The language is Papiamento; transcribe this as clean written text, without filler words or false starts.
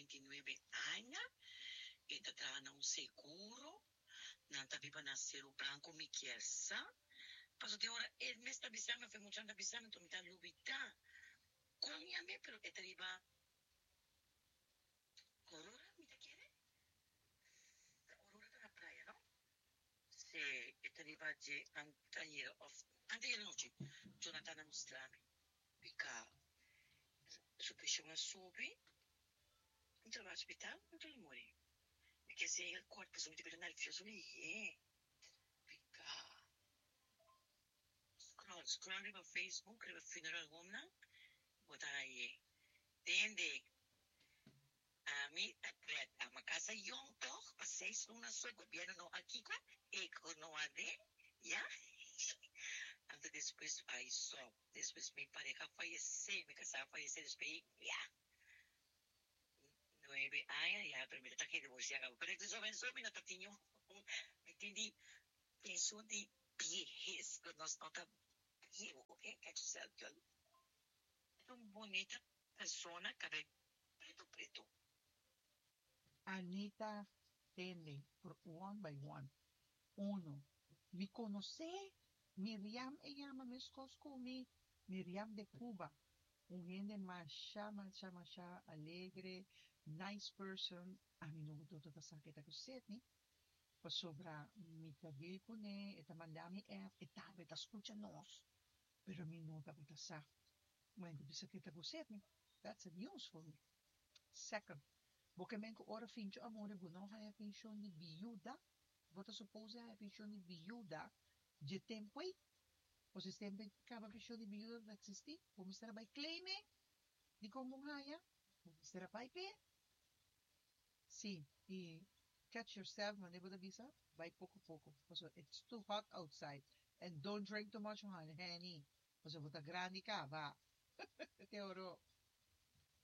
29 aña, e ta traha na un seguro, nan ta biba na Seru Branco mi kier sa, paso tin ora e mes ta bisa mi of e muchanan ta bisa mi, enton mi ta lubida kon yam'e pero e ta riba Aurora mi ta kere, ta Aurora ta na playa no? Si e ta riba dje anteayer of anteayer anochi Jonathan a mustra mi pica su presion a subi mi ta bai hospital mi ta muri mi ke sey el kort pasobra mi ta bira nervioso lihé pica scroll scroll riba Facebook riba funeral home nan bo ta haye tende. Ami ta pret ama casa yong tog pa seis luna so gobierno no a kiko e cu no a de ya anto despues ay so despues mi pareha a fayece mi casa a fayece despues ya nuebe aña ya pero mi ta ta divorcia caba pero so ben so mi no ta tin yu mi tin di pension di biehes cu nos no ta biehu ok catch yourself girl. Un bunita persona cabel preto preto. Anita tende por one by one. Uno, Mi konosé Miriam e yama meskos ku mi, Miriam de Cuba. Un hende masha masha masha alegre, nice person. Ami no ta sa ke ta ku Sidney, pasobra mi ta deal kuné, e ta manda mi app, e tambe ta skucha nos. Pero mi no tabata sa. Bueno, bisa ke ta ku Sidney. That's a news for me. Second, bo ke men ku ora Fincho a muri bo no haya penshon di biuda? Bo ta suppose haya penshon di biuda dje tempu ei? O si tempu ei kaba penshon di biuda ta existi, bo mester a bai claim e? Dikon bo haya? Bo mester a bai p'e? Si, i catch yourself manera bo ta bisa, bai poko poko, pasobra it's too hot outside and don't drink too much honey, pasobra bo ta grandi kaba. Te oro.